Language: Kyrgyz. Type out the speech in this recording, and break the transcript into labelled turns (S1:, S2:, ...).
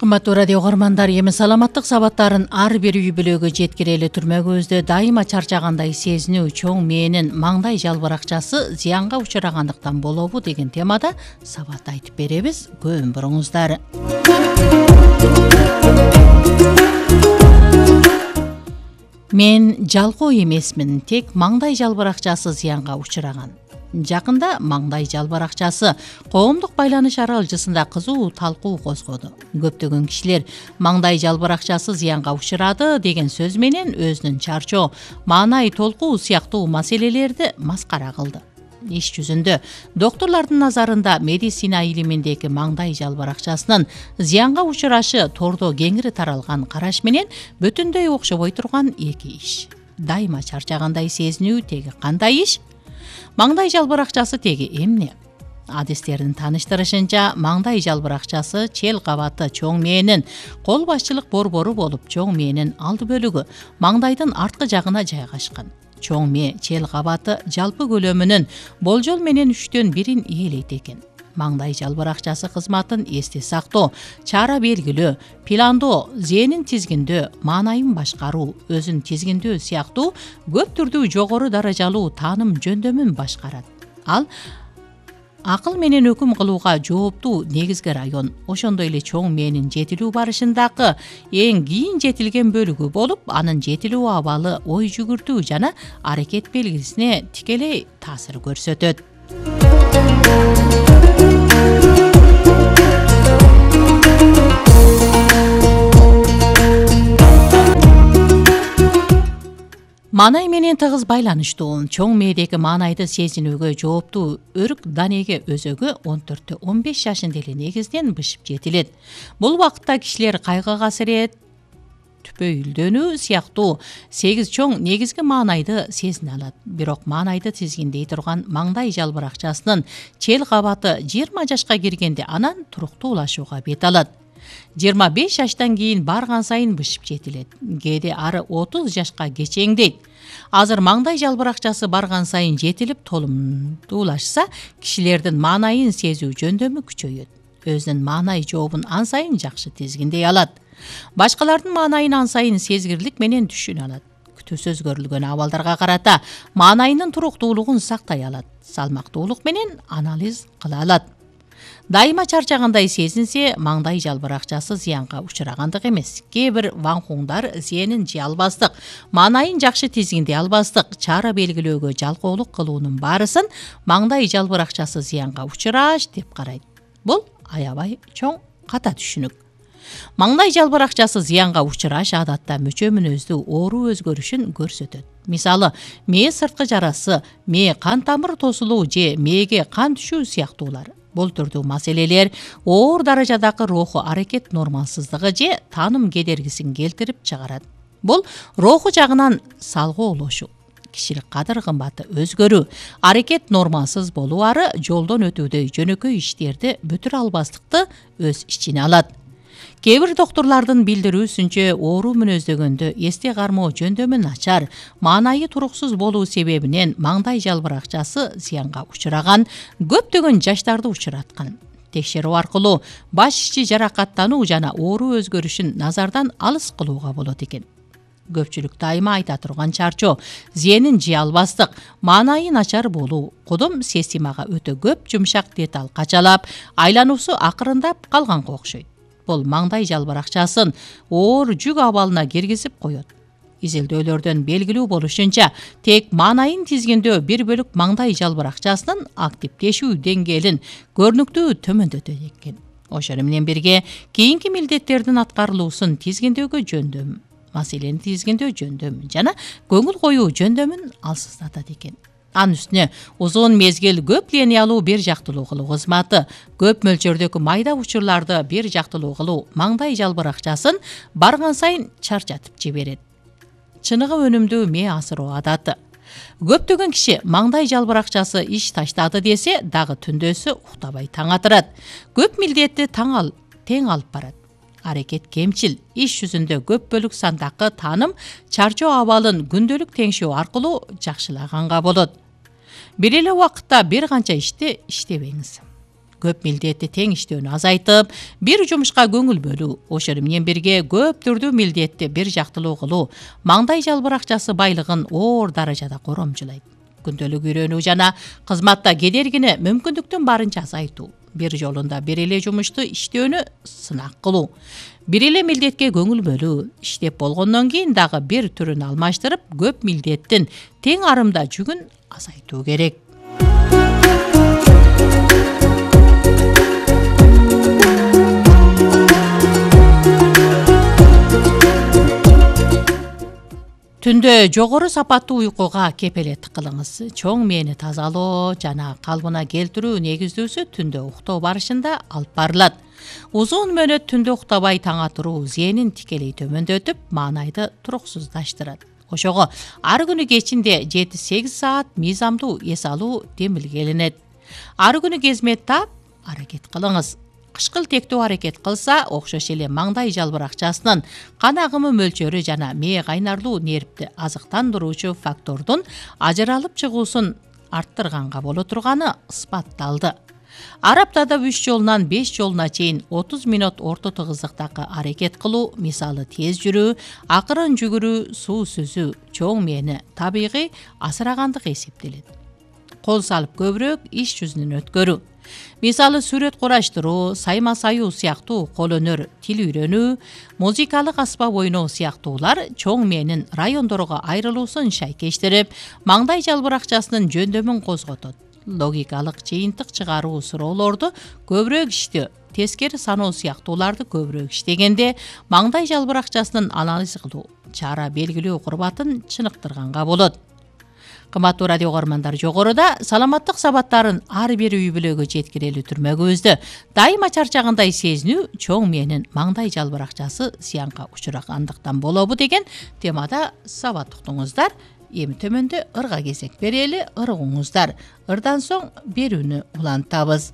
S1: Кымбаттуу радио угармандар, эми саламаттык сабаттарын ар бир үй бүлөгө жеткирели түрмөгүбүздө дайыма чарчагандай сезинүү чоң мээнин маңдай жалбыракчасы зыянга учурагандыктан болобу деген темада сабат айтып беребиз. Көбүн буруңуздар. Мен жалкоо эмесмин, тек маңдай жалбыракчасы зыянга учураган. Жакында маңдай жалбыракчасы коомдук байланыш аралжысында кызуу талкуу козгоду. Көптөгөн кишилер маңдай жалбыракчасы зыянга учурады деген сөз менен өзүнүн чарчоо, маанай толкуу сыяктуу маселелерди маскара кылды. Иш жүзүндө докторлордун назарында медицина илиминдеги маңдай жалбыракчасынын зыянга учурашы тордо кеңири таралган караш менен бүтүндөй окшобой турган эки иш. Дайыма чарчагандай сезинүү теги кандай иш? Маңдай жалбыракчасы теги эмне? Адистердин тааныштырышынча, маңдай жалбыракчасы чел кабаты чоң мээнин кол башчылык борбору болуп, чоң мээнин алды бөлүгү маңдайдын арткы жагына жайгашкан. Чоң мээ чел кабаты жалпы көлөмүнүн болжол менен 3/1 ээлейт экен. Маңдай жалбыракчасы кызматын эсте сактоо, чара белгилөө, пландоо, зээнин тизгиндөө, маанайын башкаруу, өзүн тизгиндөө сыяктуу көп түрдүү жогору даражалуу тааным жөндөмүн башкарат. Ал акыл менен өкүм кылууга жооптуу негизги район, ошондой эле чоң мээнин жетилүү барышындагы эң кийин жетилген бөлүгү болуп, анын жетилүү абалы ой жүгүртүү жана аракет белгисине тикелей таасир көрсөтөт. Маанай менен тыгыз байланыштуу чоң мээдеги маанайды сезинүүгө жооптуу өрүк данеге өзөгү 14-15 жашында эле негизден бышып жетилет. Бул убакытта кишилер кайгы касырет, түпөйүлдөнүү сыяктуу 8 чоң негизги маанайды сезине алат. Бирок маанайды тизгиндей турган маңдай жалбыракчасынын чел кабаты 20 жашка киргенде анан туруктуулашууга бет алат. 25 жаштан кийин барган сайын бышып жетилет. Кээде ары 30 жашка кечеңдейт. Азыр маңдай жалбыракчасы барган сайын жетилип толумдуулашса, кишилердин маанайын сезүү жөндөмү күчөйөт. Өзүнүн маанай жообун ан сайын жакшы тизгиндей алат. Башкалардын маанайын ан сайын сезгирлик менен түшүнө алат. Күтүүсүз көрүлгөн абалдарга карата маанайынын туруктуулугун сактай алат. Салмактуулук менен анализ кыла алат. Дайыма чарчагандай сезинсе, маңдай жалбыракчасы зыянга учурагандык эмес. Кээ бир ванхуңдар зээнин жей албастык, маанайын жакшы тизгиндей албастык, чара белгилөөгө жалкоолук кылуунун баарысын маңдай жалбыракчасы зыянга учураш деп карайт. Бул аябай чоң ката түшүнүк. Маңдай жалбыракчасы зыянга учураш адатта мөчө мүнөздүү оору өзгөрүшүн көрсөтөт. Мисалы, мээ сырткы жарасы, мээ кан тамыр тосулуу же мээге кан түшүү сыяктуулар. Бул түрдүү маселелер оор даражадагы руху аракет нормалсыздыгы же тааным кедергисин келтирип чыгарат. Бул руху жагынан салгоолошуу, кишилик кадыр кымбаты өзгөрүү, аракет нормалсыз болуары жолдон өтүүдөй жөнөкөй иштерди бүтүрө албастыкты өз ичине алат. Кээ бир докторлордун билдирүүсүнчө, оору мүнөздөгөндө эсте кармоо жөндөмү начар, маанайы туруксуз болуу себебинен маңдай жалбыракчасы зыянга учураган, көптөгөн жаштарды учураткан. Текшерүү аркылуу баш ичи жаракаттануу жана оору өзгөрүшүн назардан алыс кылууга болот экен. Көпчүлүк дайыма айта турган чарчоо, зээнин жей албастык, маанайы начар болуу, кудум системага өтө көп жумшак деталь качалап, айлануусу акырындап калганга окшойт. Бул маңдай жалбыракчасын оор жүк абалына киргизип коет. Изилдөөлөрдөн белгилүү болушунча, тек маанайын тизгиндөө бир бөлүк маңдай жалбыракчасынын активдешүү деңгээлин көрүнүктүү төмөндөтөт экен. Ошону менен бирге кийинки милдеттердин аткарылуусун тизгиндөөгө жөндөм, маселени тизгиндөө жөндөмүн жана көңүл коюу жөндөмүн алсыздатат экен. Анын үстүнө узун мезгил көп линиялуу бир жактылуу кылуу кызматы, көп мөлчөрдөгү майда учурларды бир жактылуу кылуу маңдай жалбыракчасын барган сайын чарчатып жиберет. Чыныгы өнүмдүү мээ асыроо адаты. Көптөгөн киши маңдай жалбыракчасы иш таштады десе, дагы түндөсү уктабай таң атырат. Көп милдетти тең алып барат. Аракет кемчил, иш жүзүндө көп бөлүк сандагы тааным чарчоо абалын күндөлүк теңшөө аркылуу жакшылаганга болот. Бир эле убакытта бир канча ишти иштебеңиз. көп милдетти тең иштөөнү азайтып, бир жумушка көңүл бөлүү, ошону менен бирге көп түрдүү милдетти бир жактылуу кылуу маңдай жалбыракчасы байлыгын оор даражада коромчулайт. Күндөлүк үйрөнүү жана кызматта кедергини мүмкүндүктөн барынча азайтуу, бир жолунда бир эле жумушту иштөөнү сынак кылуу, бир эле милдетке көңүл бөлүү, иштеп болгондон кийин дагы бир түрүн алмаштырып, көп милдеттин тең арымда жүгүн азайтуу керек. Түндө жогору сапаттуу уйкуга кепелеттик кылыңыз. Чоң мээни тазалоо жана калыбына келтирүү негиздүүсү түндө уктоо барышында алып барылат. Узун мөөнөт түндө уктабай таңа туруу зээнин тикелей төмөндөтүп, маанайды туруксуздаштырат. Ошого ар күнү кечинде 7-8 саат мыйзамдуу эс алуу демилгелинет. Ар күнү кезмет таап, аракет кылыңыз. Кышкылтектүү аракет кылса, окшош эле маңдай жалбыракчасынын кан агымы мөлчөрү жана мээ кайнарлуу нервти азыктандыруучу фактордун ажыралып чыгуусун арттырганга боло турганы ысбатталды. Ар аптада 3 жолунан 5 жолуна чейин 30 минут орто тыгыздыктагы аракет кылуу, мисалы тез жүрүү, акырын жүгүрүү, суу сүзүү чоң мээни табигый асырагандык эсептелет. Кол салып көбүрөөк иш жүзүнөн өткөрүү. Мисалы сүрөт кураштыруу, сайма саюу сыяктуу кол өнөр, тил үйрөнүү, музыкалык аспап ойноо сыяктуулар чоң мээнин райондорго айрылуусун шайкештирип, маңдай жалбыракчасынын жөндөмүн козготот. Логикалык жыйынтык чыгаруу суроолорду көбүрөөк иштөө, тескери саноо сыяктууларды көбүрөөк иштегенде маңдай жалбыракчасынын анализ кылуу, чара белгилөө курбатын чыныктырганга болот. Кымбаттуу радио көрөрмандар, жогоруда саламаттык сабаттарын ар бир үй бүлөгө жеткирели түрмөгүбүздө дайыма чарчагандай сезинүү чоң мээнин маңдай жалбыракчасы зыянга учурагандыктан болобу деген темада сабат уктуңуздар. Эми төмөндө ырга кезек берели, ыргыңыздар. Ырдан соң берүүнү улантабыз.